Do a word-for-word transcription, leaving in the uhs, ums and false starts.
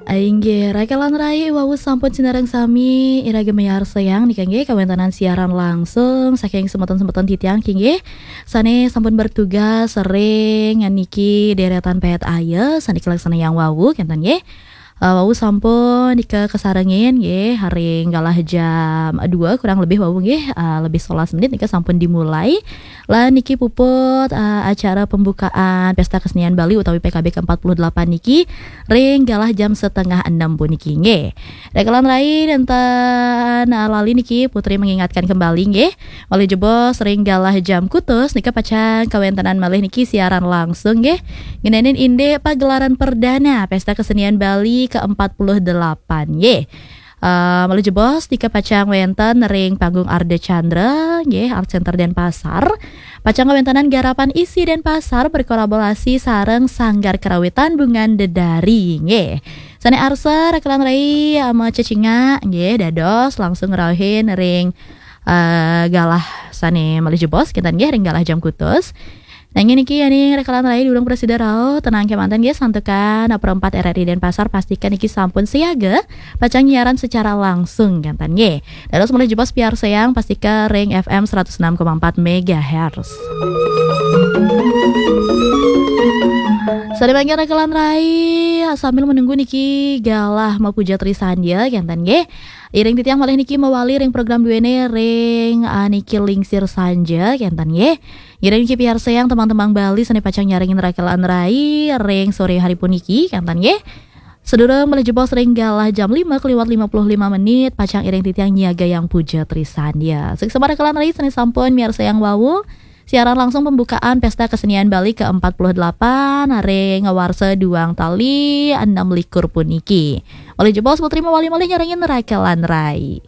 Inggih, rakan rai, wau sampun sinareng sami iraga miarsayang nika nggih kawéntenan siaran langsung saking semeton-semeton titiang nggih sané sampun bertugas ring niki deretan Pét Aya sané kalaksanayang wau kénten nggih. Eh, wau sampun nika kasarengin nggih ring galah jam dua kurang lebih wau nggih, eh, lebih sebelas menit nika sampun dimulai. Lan niki puput, eh, acara pembukaan Pesta Kesenian Bali utawi P K B ke empat puluh delapan niki ring galah jam setengah enam puniki nggih. Rakan rai, nénten, eh, lali niki Putri mengingatkan kembali nggih. Malih jebos ring galah jam kutus nika pacang kawéntenan malih niki siaran langsung nggih. Ngenénin indik pagelaran perdana Pesta Kesenian Bali ke empat puluh delapan nggih. Eh, malih jebos nika pacang wénten ring panggung Ardha Candra nggih, Art Center Denpasar. Pacang kawéntenan garapan isi Denpasar berkolaborasi sareng Sanggar Karawitan Bungan Dedari nggih. Sané arsa rakan rai, eh, macecingak nggih dados langsung ngrauhin ring, eh, galah sané malih jebos kénten nggih ring galah jam kutus. Nah, niki yéning rakan rai durung prasida rauh, tenang kémanten nggih, santukan Pro empat R R I Denpasar pastikan niki sampun siaga pacang nyiaran secara langsung kénten nggih. Dados malih jebos piarsayang pastikan ring F M seratus enam koma empat megahertz. Sané mangkin rakan rai, sambil menunggu niki galah mapuja Trisandya kénten nggih. Iring titiang malih niki mawali ring program duéné ring, ah, niki Lingsir Sanja kénten nggih. Ngiring niki piarsayang tembang-tembang Bali sané pacang nyarengin rakan rai ring soré hari puniki kénten nggih. Sadurung malih jebos ring galah jam lima keliwat lima puluh lima menit pacang iring titiang nyiagayang puja Trisandya. Suksma rakan rai sané sampun miarsayang wau siaran langsung pembukaan Pesta Kesenian Bali ke empat puluh delapan ring warsa duang tali enam likur puniki. Malih jebos Putri mawali malih nyarengin rakan rai.